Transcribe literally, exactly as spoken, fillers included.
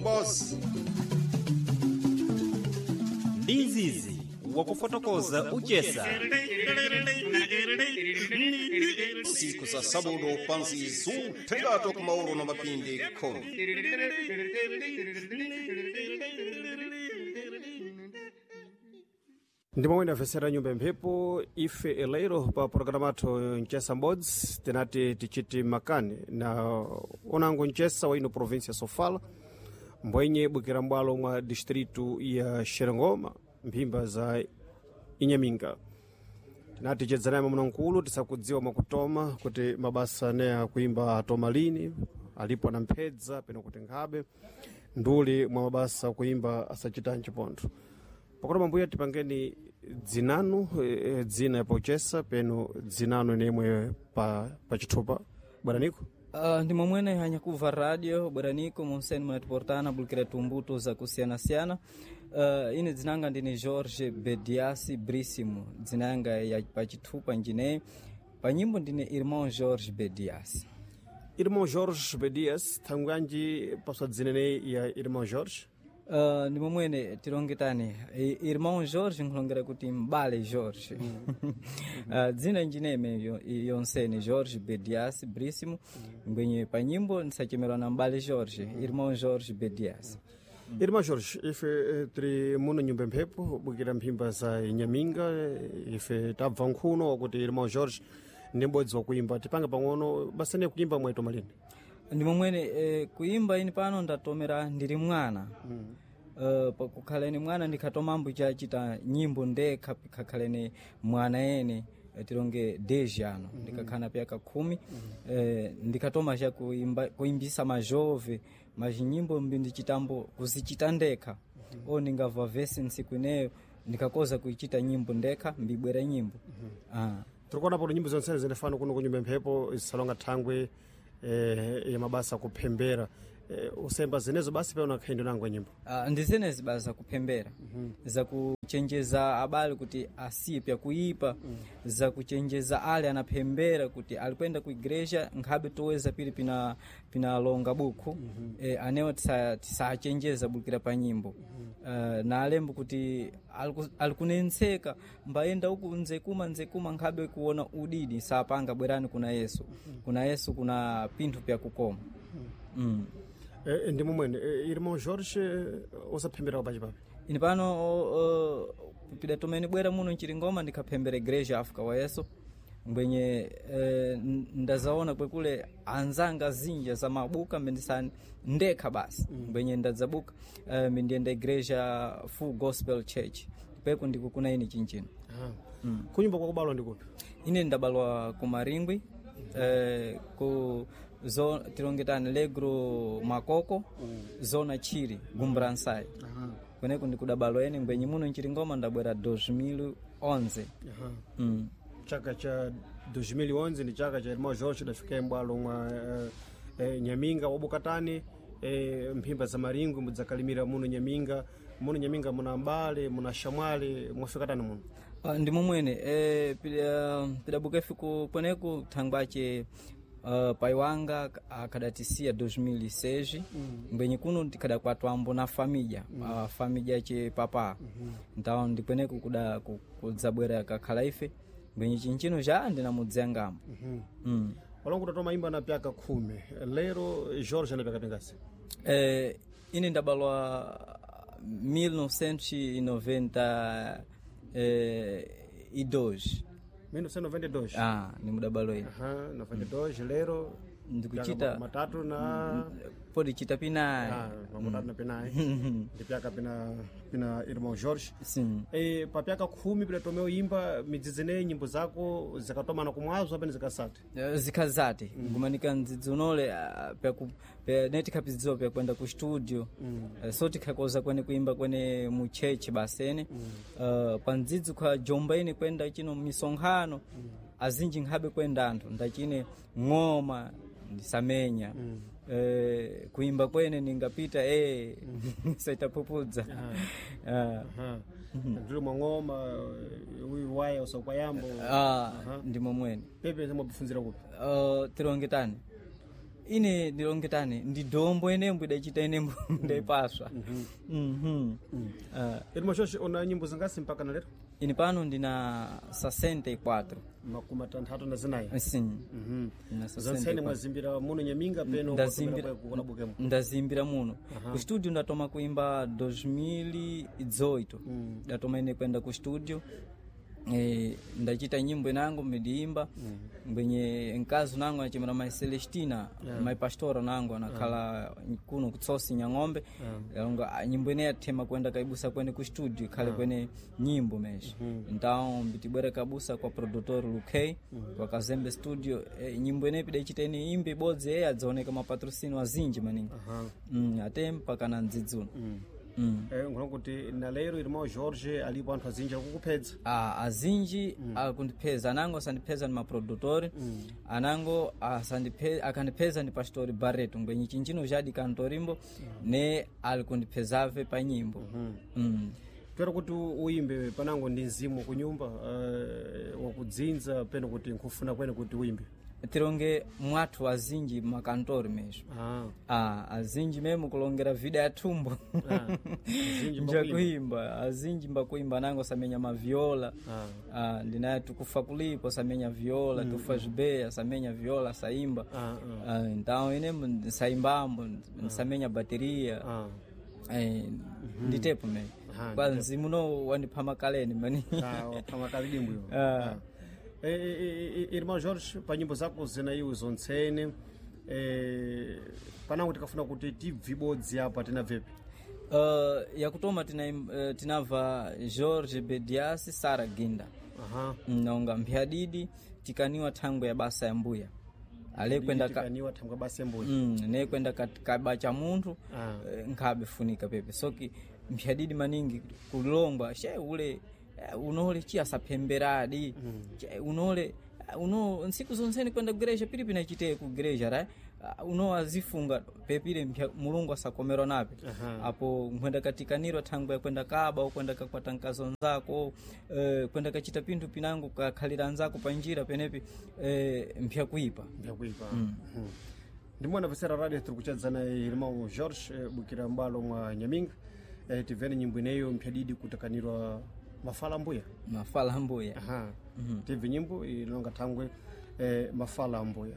M'bozi. Ndi izizi wakufotokoza uchesa. Siku za sabudo pansi zuthengato kumauro na mapindi khumi. Ndimwe ndamvetsera nyumba mphepo ife eleiro pa programa athu Mchesa M'bodzi, tinati tichiti makani na onango mchesa wa ino província Sofala, mbwenye bwikira mbwalo mwa distrito ya Xerengoma, mphimba za Inhaminga. Tinati chedzanayi mwamuna tisakudziwa mwakutoma kuti mabasa ane akuimba atoma lini, alipo na mphedza peno kuti nkhabe nduli mwa mabasa akuimba asachitanji pontho. Pakuti mambuya tipangeni dzinanu, eh, dzina pochesa peno dzinanu inemwe pa, pa chithupa bweraniko. Uh, ndi momwene hanyakuva radio bweraniko monseni munatiportana bulukira tumbuto zakusiyanasiyana. Uh, ine dzinanga ndine Jorge Bediasi Brísimo, dzinanga ya pachithupa njineyi, pa nyimbo ndine Irmão Jorge Bediasi. Irmão Jorge Bedias, thangwanji paswa dzinene ya Irmão Jorge? Uh, ndi momwene tilongetani I- Irmão Jorge nkhulongera kuti mbale Jorge. Uh, dzina njineme yo- yonsene Jorge Bediasi Brísimo, ngwenye pa nyimbo ndisachemerwa na mbale Jorge, Irmão Jorge Bediasi. Irmão Jorge, ife eh, tiri muno nyumba mphepo bwikira mphimba za Inhaminga, eh, ife tabva nkhuno wakuti Irmão Jorge ndi m'bodzi wakuimba. Tipange pang'ono basa ne kuimba mwaitoma lini? Ndi momwene eh, kuimba ini pano ndatomera ndili mwana mm. Uh, pakukhaleni mwana ndikhatomambo chachita nyimbo ndekha pikhakhaleni mwana ene, eh, tilonge dez ano mm. ndikakhana pyaka khumi mm. eh, ndikhatoma cha kuimba, kuimbisa majove mazinyimbo mbi ndichitambo kuzichita ndekha mm -hmm. O ndingamva vesi ntsiku ineyo ndikakoza kuichita nyimbo ndekha mbibwera nyimbo mm -hmm. ah. Tirikuona pano nyimbo zonsene zinafana kuno kunyumba mphepo zisalonga thangwe eh, ya mabasa kuphembera, eh, usemba zinezo basi pano akhaindo nango nyimbo. Uh, ndi zenezi basi zakupembera mm -hmm. zakuchenjeza abale kuti asiye pyakuipa mm. zakuchenjeza ale anaphembera kuti alikwenda ku igreja nkhabe toweza pili pina pinalonga buku mm -hmm. e, anewo tisa- tisachenjeza bulukira pa nyimbo mm -hmm. uh, na alembo kuti aliku- alikunentseka mbayenda uku nzekuma nzekuma nkhabe kuona udidi sapanga bwerani kuna Yesu mm -hmm. kuna Yesu kuna pinthu pyakukoma mm. mm. Eh, ndi momwene eh, Irmão Jorge, eh, usaphembera pachi papi? Ini pano uh, pidatomeni bwera muno mchiringoma ndikaphembera igreja Africa wa Yesu ngwenye eh, ndazaona kwekule anzanga zinja za mabuka mbendisani ndekha basi ngwenye ndadzabuka eh, mbendiyenda igreja Full Gospel Church peku ndikukuna ini chinchino. Mm. Kunyumba kwakubalwa ndikupi? Ine ndabalwa ku Maringwi eh, ku zo, tilongetani Legro Makoko mm. zona Chiri Gumbransai kweneku ndikudabalwa ene ngwenye muno mchiringoma ndabwera elfu mbili na onze. Mm. Chaka cha elfu mbili na onze ndi chaka cha Irmão Jorge dafika mbwalo mwa eh, eh, Nyaminga wabukatani eh, mphimba za Maringwi mudzakalimira muno Nyaminga. Muno Nyaminga muna mbale muna shamwali mwafikatani muno? Ah, ndi momwene eh, pida- pidabuka ife kweneku thangwace uh, pai wanga akhadatisiya elfu mbili na seis mm. ngwenye kuno tikhadakwatwambo na familya mm. uh, familya ce papa mm -hmm. ntawo ndikweneku kuda ku- kudzabwera kakhala ife ngwenye chinchino ja ndinamudziyangamo mm -hmm. mm. Walongo tatoma imba na pyaka khumi lero Jorge ana pyaka pingasi? Eh, ine ndabalwa mil novecentos e noventa e dois. mil novecentos e noventa e dois. Ah, nimudabalo ine. Aha, noventa e dois lero Ndikuchita- pyaka matatu na podichita pinayi. Ah, makutatu na pinayi ndi pyaka pina pina Irmão Jorge. Sim. E, papyaka khumi pidatomea imba midzidzineyi nyimbo zako zikatomana kumwazo apene zikasati? Eh, zikhazati ngumanika ndzidzunole ah, pyaku- pya- ne tikhapidziwa pyakwenda ku studio mm. so tikhakoza kwene kuimba kwene mu chechi basene mm. uh, pa ndzidzi kwa jomba ine kwenda chino misonkhano mm. azinji nkhabe kwenda anthu ndachine ng'oma ndisamenya mm. eh, kuimba kwene ningapita eh, saitapupudza Ah. Ndili mwang'oma uyu waya usakwayambo. Ah, ndi momwene. Pepe mwapfunzira kupi? Uh, tilongetani Ine ndilongetane ndi dombo enembo idachita enembo ndaipaswa. Mhm. Ah, Irmão Jorge, una nyimbo zingasi mpaka na lero? Ine pano ndina sessenta e quatro. Makumi atanthatu na zinayi. Sim. Mhm. Ndina Zonsene sessenta e quatro. mwazimbira muno Nyaminga peno? Ndazimbira- Kuna bukemo? Ndazimbira muno. Ku studio ndatoma kuimba dois mil e dezoito. Ndatoma ine kwenda ku studio, e, ndachita nyimbo inango midiimba mbwenye mkazi nango anachimira mai Celestina, mai pastora nango anakhala kuno kutsosi Nyang'ombe. Alonga, ah, nyimbo ine yathema kwenda kaibusa kwene ku studio ikhale kwene nyimbo mesho. Então mbitibwera kabusa kwa produtor Lukey kwa Kazembe Studio, e, nyimbo ine pidachita ine imbe ibodzi eye adzaoneka mapatrocínio azinji maningi, mm, ate mpaka na mdzidzuno mm. Eh, ngona kuti na lero irmão Jorge alipo anthu azinji akukupedza. Ah, azinji mm. akundipeza anango asandipeza ni maprodutori mm. anango asandiphe, akandipeza ni pastori Barreto ngwenye chinjino jadi kantorimbo mm. ne alikundipezave pa nyimbo mm -hmm. mm. Twera kuti uimbe panango ndi mzimu kunyumba, uh, wakudzinza peno kuti nkufuna kwene kuti uimbe? Tilonge mwathu azinji makantori mesho. Ah. Ah, azinji memo kulongera vida ya thumbo. Ah, azinji mbakuimba. Njakuimba azinji mbakuimba nango samenya maviola. Ah. Ah, ndinaye tukufa kulipo samenya viola mm. tufa zvibeya samenya viola saimba. Ah, Ah, então ine nsaimbambo nsamenya bateria. Ah. Eh, nditepo me Ah, kwa mzimu no wandipha makaleni mani. Ah, pamakalidimbo iwo. Ah. Eh, eh, eh, irmão Jorge, pa nyimbo zako zinaiwo zontsene, eh, panango tikafuna kuti tibve ibodzi apa tinabvepi? Uh, yakutoma tina, uh, tinabva George Bedias Sara Ginda. Aha. Naonga mphyadidi tikaniwa thangwe ya basa ya mbuya ale kwenda ka, Tikaniwa thangwe basa ya mbuya. mm, ne kwenda ka- kaba cha munthu. Ah. Eh, nkhabe funika pepe soki mphyadidi maningi kulongwa she ule, eh, unole chi asaphemberadi che unole, eh, uno ntsiku zonsene kwenda kugereja pili pinachite kugereja ra. Ah, uno azifunga pepile mpya Mulungu asakomerwa nape. Apo nkhwenda katikanirwa thangwe yakwenda kaba okwenda kakwata nkazo nzako, eh, kwenda kachita pinthu pinango kakhalira nzako panjira penepi, eh, mpya kuipa. Mbyakuipa. Ndimona vesera radio tiri kuchadzana irmão Jorge, eh, bukira mbalo mwa Nyaminga. eh, tivene nyimbo ineyo mphyadidi kutakanirwa mafala mbuya. Mafala mbuya. Aha. Tibve nyimbo ilonga thangwe, eh, mafala mbuya.